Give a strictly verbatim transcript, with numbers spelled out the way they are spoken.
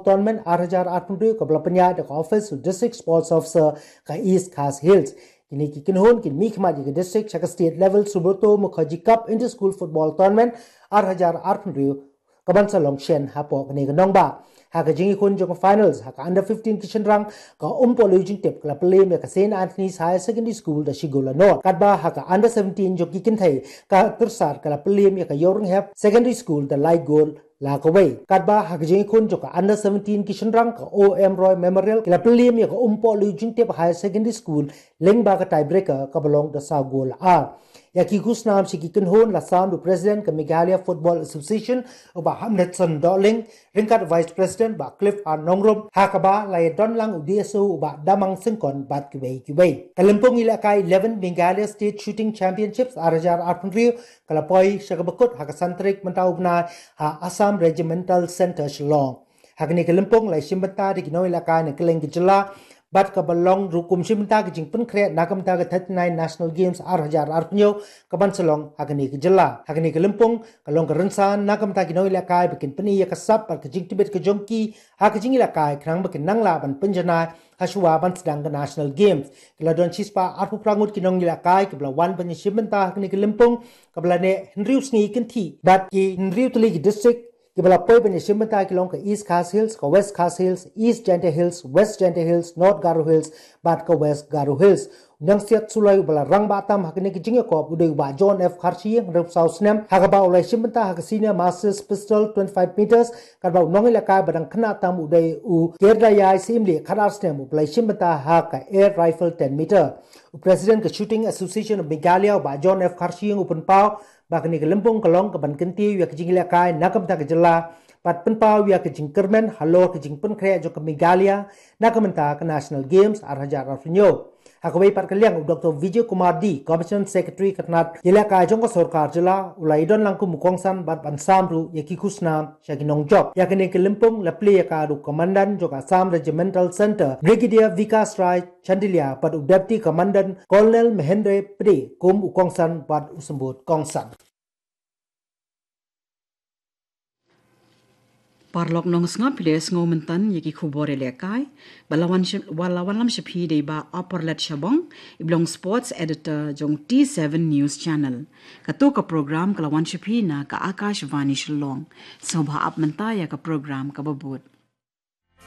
Tournament ar hajar arphew hynriew kaba la pynïaid da ka office u District Sports Officer ka East Khasi Hills. Kine ki kynhun kin mihkhmat ïa ka district sha ka state level Subroto Mukherjee Cup Inter School Football Tournament ar hajar arphew hynriew kaban sa long shen hapoh kane ka nongbah. Ha ka jingïakhun jong ka finals ha ka under fifteen ki shynrang, ka Umpohliew Jingtip ka la pynliem ïa ka Saint Anthony's Higher Secondary School da shi gol la nod. Katba ha ka under seventeen jong ki kynthei, ka Tyrsad ka la pynliem ïa ka Ïewrynghep Secondary School da lai gol la kawei. Katba ha ka jingïakhun jong ka under seventeen ki shynrang, ka O M Roy Memorial ka la pynliem ïa ka Umpohliew Jingtip Higher Secondary School lyngba ka tiebreaker kaba long da saw gol la ar. Ïa ki khusnam sha ki kynhun la sam da u President ka Meghalaya Football Association u Bah Hamletson Dohling, ryngkat Vice President Bah Cliff R Nongrum, ha kaba la ïadon lang u D S O u Bah Damang Syngkon bad kiwei kiwei. Ka lympung ïalehkai eleven Meghalaya State Shooting Championships ar hajar arphew hynriew ka la poi sha kaba kut ha ka san tarik mynta u bnai ha Assam Regimental Centre Shillong. Ha kane ka lympung la shim bynta da ki nongïalehkai na kylleng ka jylla, bad kaba long ruh kum shim bynta ka jingpynkhreh na ka bynta ka thirty-nine National Games ar hajar arphew hynñiew kaban sa long ha kane ka jylla. Ha kane ka lympung ka long ka rynsan na ka bynta ki nongïalehkai ba kin pyni ïa ka sap bad ka jingtbit ka jong ki ha ka jingïalehkai khnang ba kin nang lah ban pynjanai ha shuwa ban sdang ka National Games. Ki la don shispah arphew phra ngut ki nongïalehkai kiba la wan ban ïashim bynta ha kane ka lympung kaba la neh hynriew sngi kynthih, bad ki hynriew tylli ki district kiba la poi ban ïashim bynta ki long ka East Khasi Hills, ka West Khasi Hills, East Jaintia Hills, West Jaintia Hills, North Garo Hills bad ka West Garo Hills. U nongsiat suloi uba la rangbah tam ha kane ka jingïakop u dei u Bah John F Kharshiing, hynriew phew saw snem, ha kaba u la ïashim bynta ha ka Senior Masters Pistol twenty-five meters, katba u nongïalehkai ba dang khynnah tam u dei u Kyrdaiyai Syiemlieh, khatar snem, uba la ïashim bynta ha ka Air Rifle ten meter. U President ka Shooting Association of Meghalaya u Bah John F Kharshiing u pynpaw ba kane ka lympung ka long kaban kyntiew ïa ka jingïalehkai na ka bynta ka jylla bad pynpaw ïa ka jingkyrmen halor ka jingpynkhreh jong ka Meghalaya na ka bynta ka National Games ar hajar arphew hynñiew. Ha kawei pat ka liang u Doctor Vijay Kumar D, Commissioner Secretary ka tnat ïalehkai jong ka sorkar jylla, u la ïadon lang kum u kongsan bad ban sam ruh ïa ki khusnam sha ki nongjop. Ïa kane ka lympung la plie ïa ka da u Commandant jong ka Assam Regimental Centre, Brigadier Vikas Rai Chandilia, bad u Deputy Commandant Colonel Mahendra Pde kum u kongsan bad u symbud kongsan. Paralok nongsngap, phi dei sngewbha mynta ïa ki khubor ïalehkai ba la wan sha, ba la wanlam sha phi da i Bah Opperlet Shabong, i ba long Sports Editor jong T seven News Channel. Kato ka program ka la wan sha phi na ka Akashvani Shillong. Sngewbha ap mynta ïa ka program kaba bud.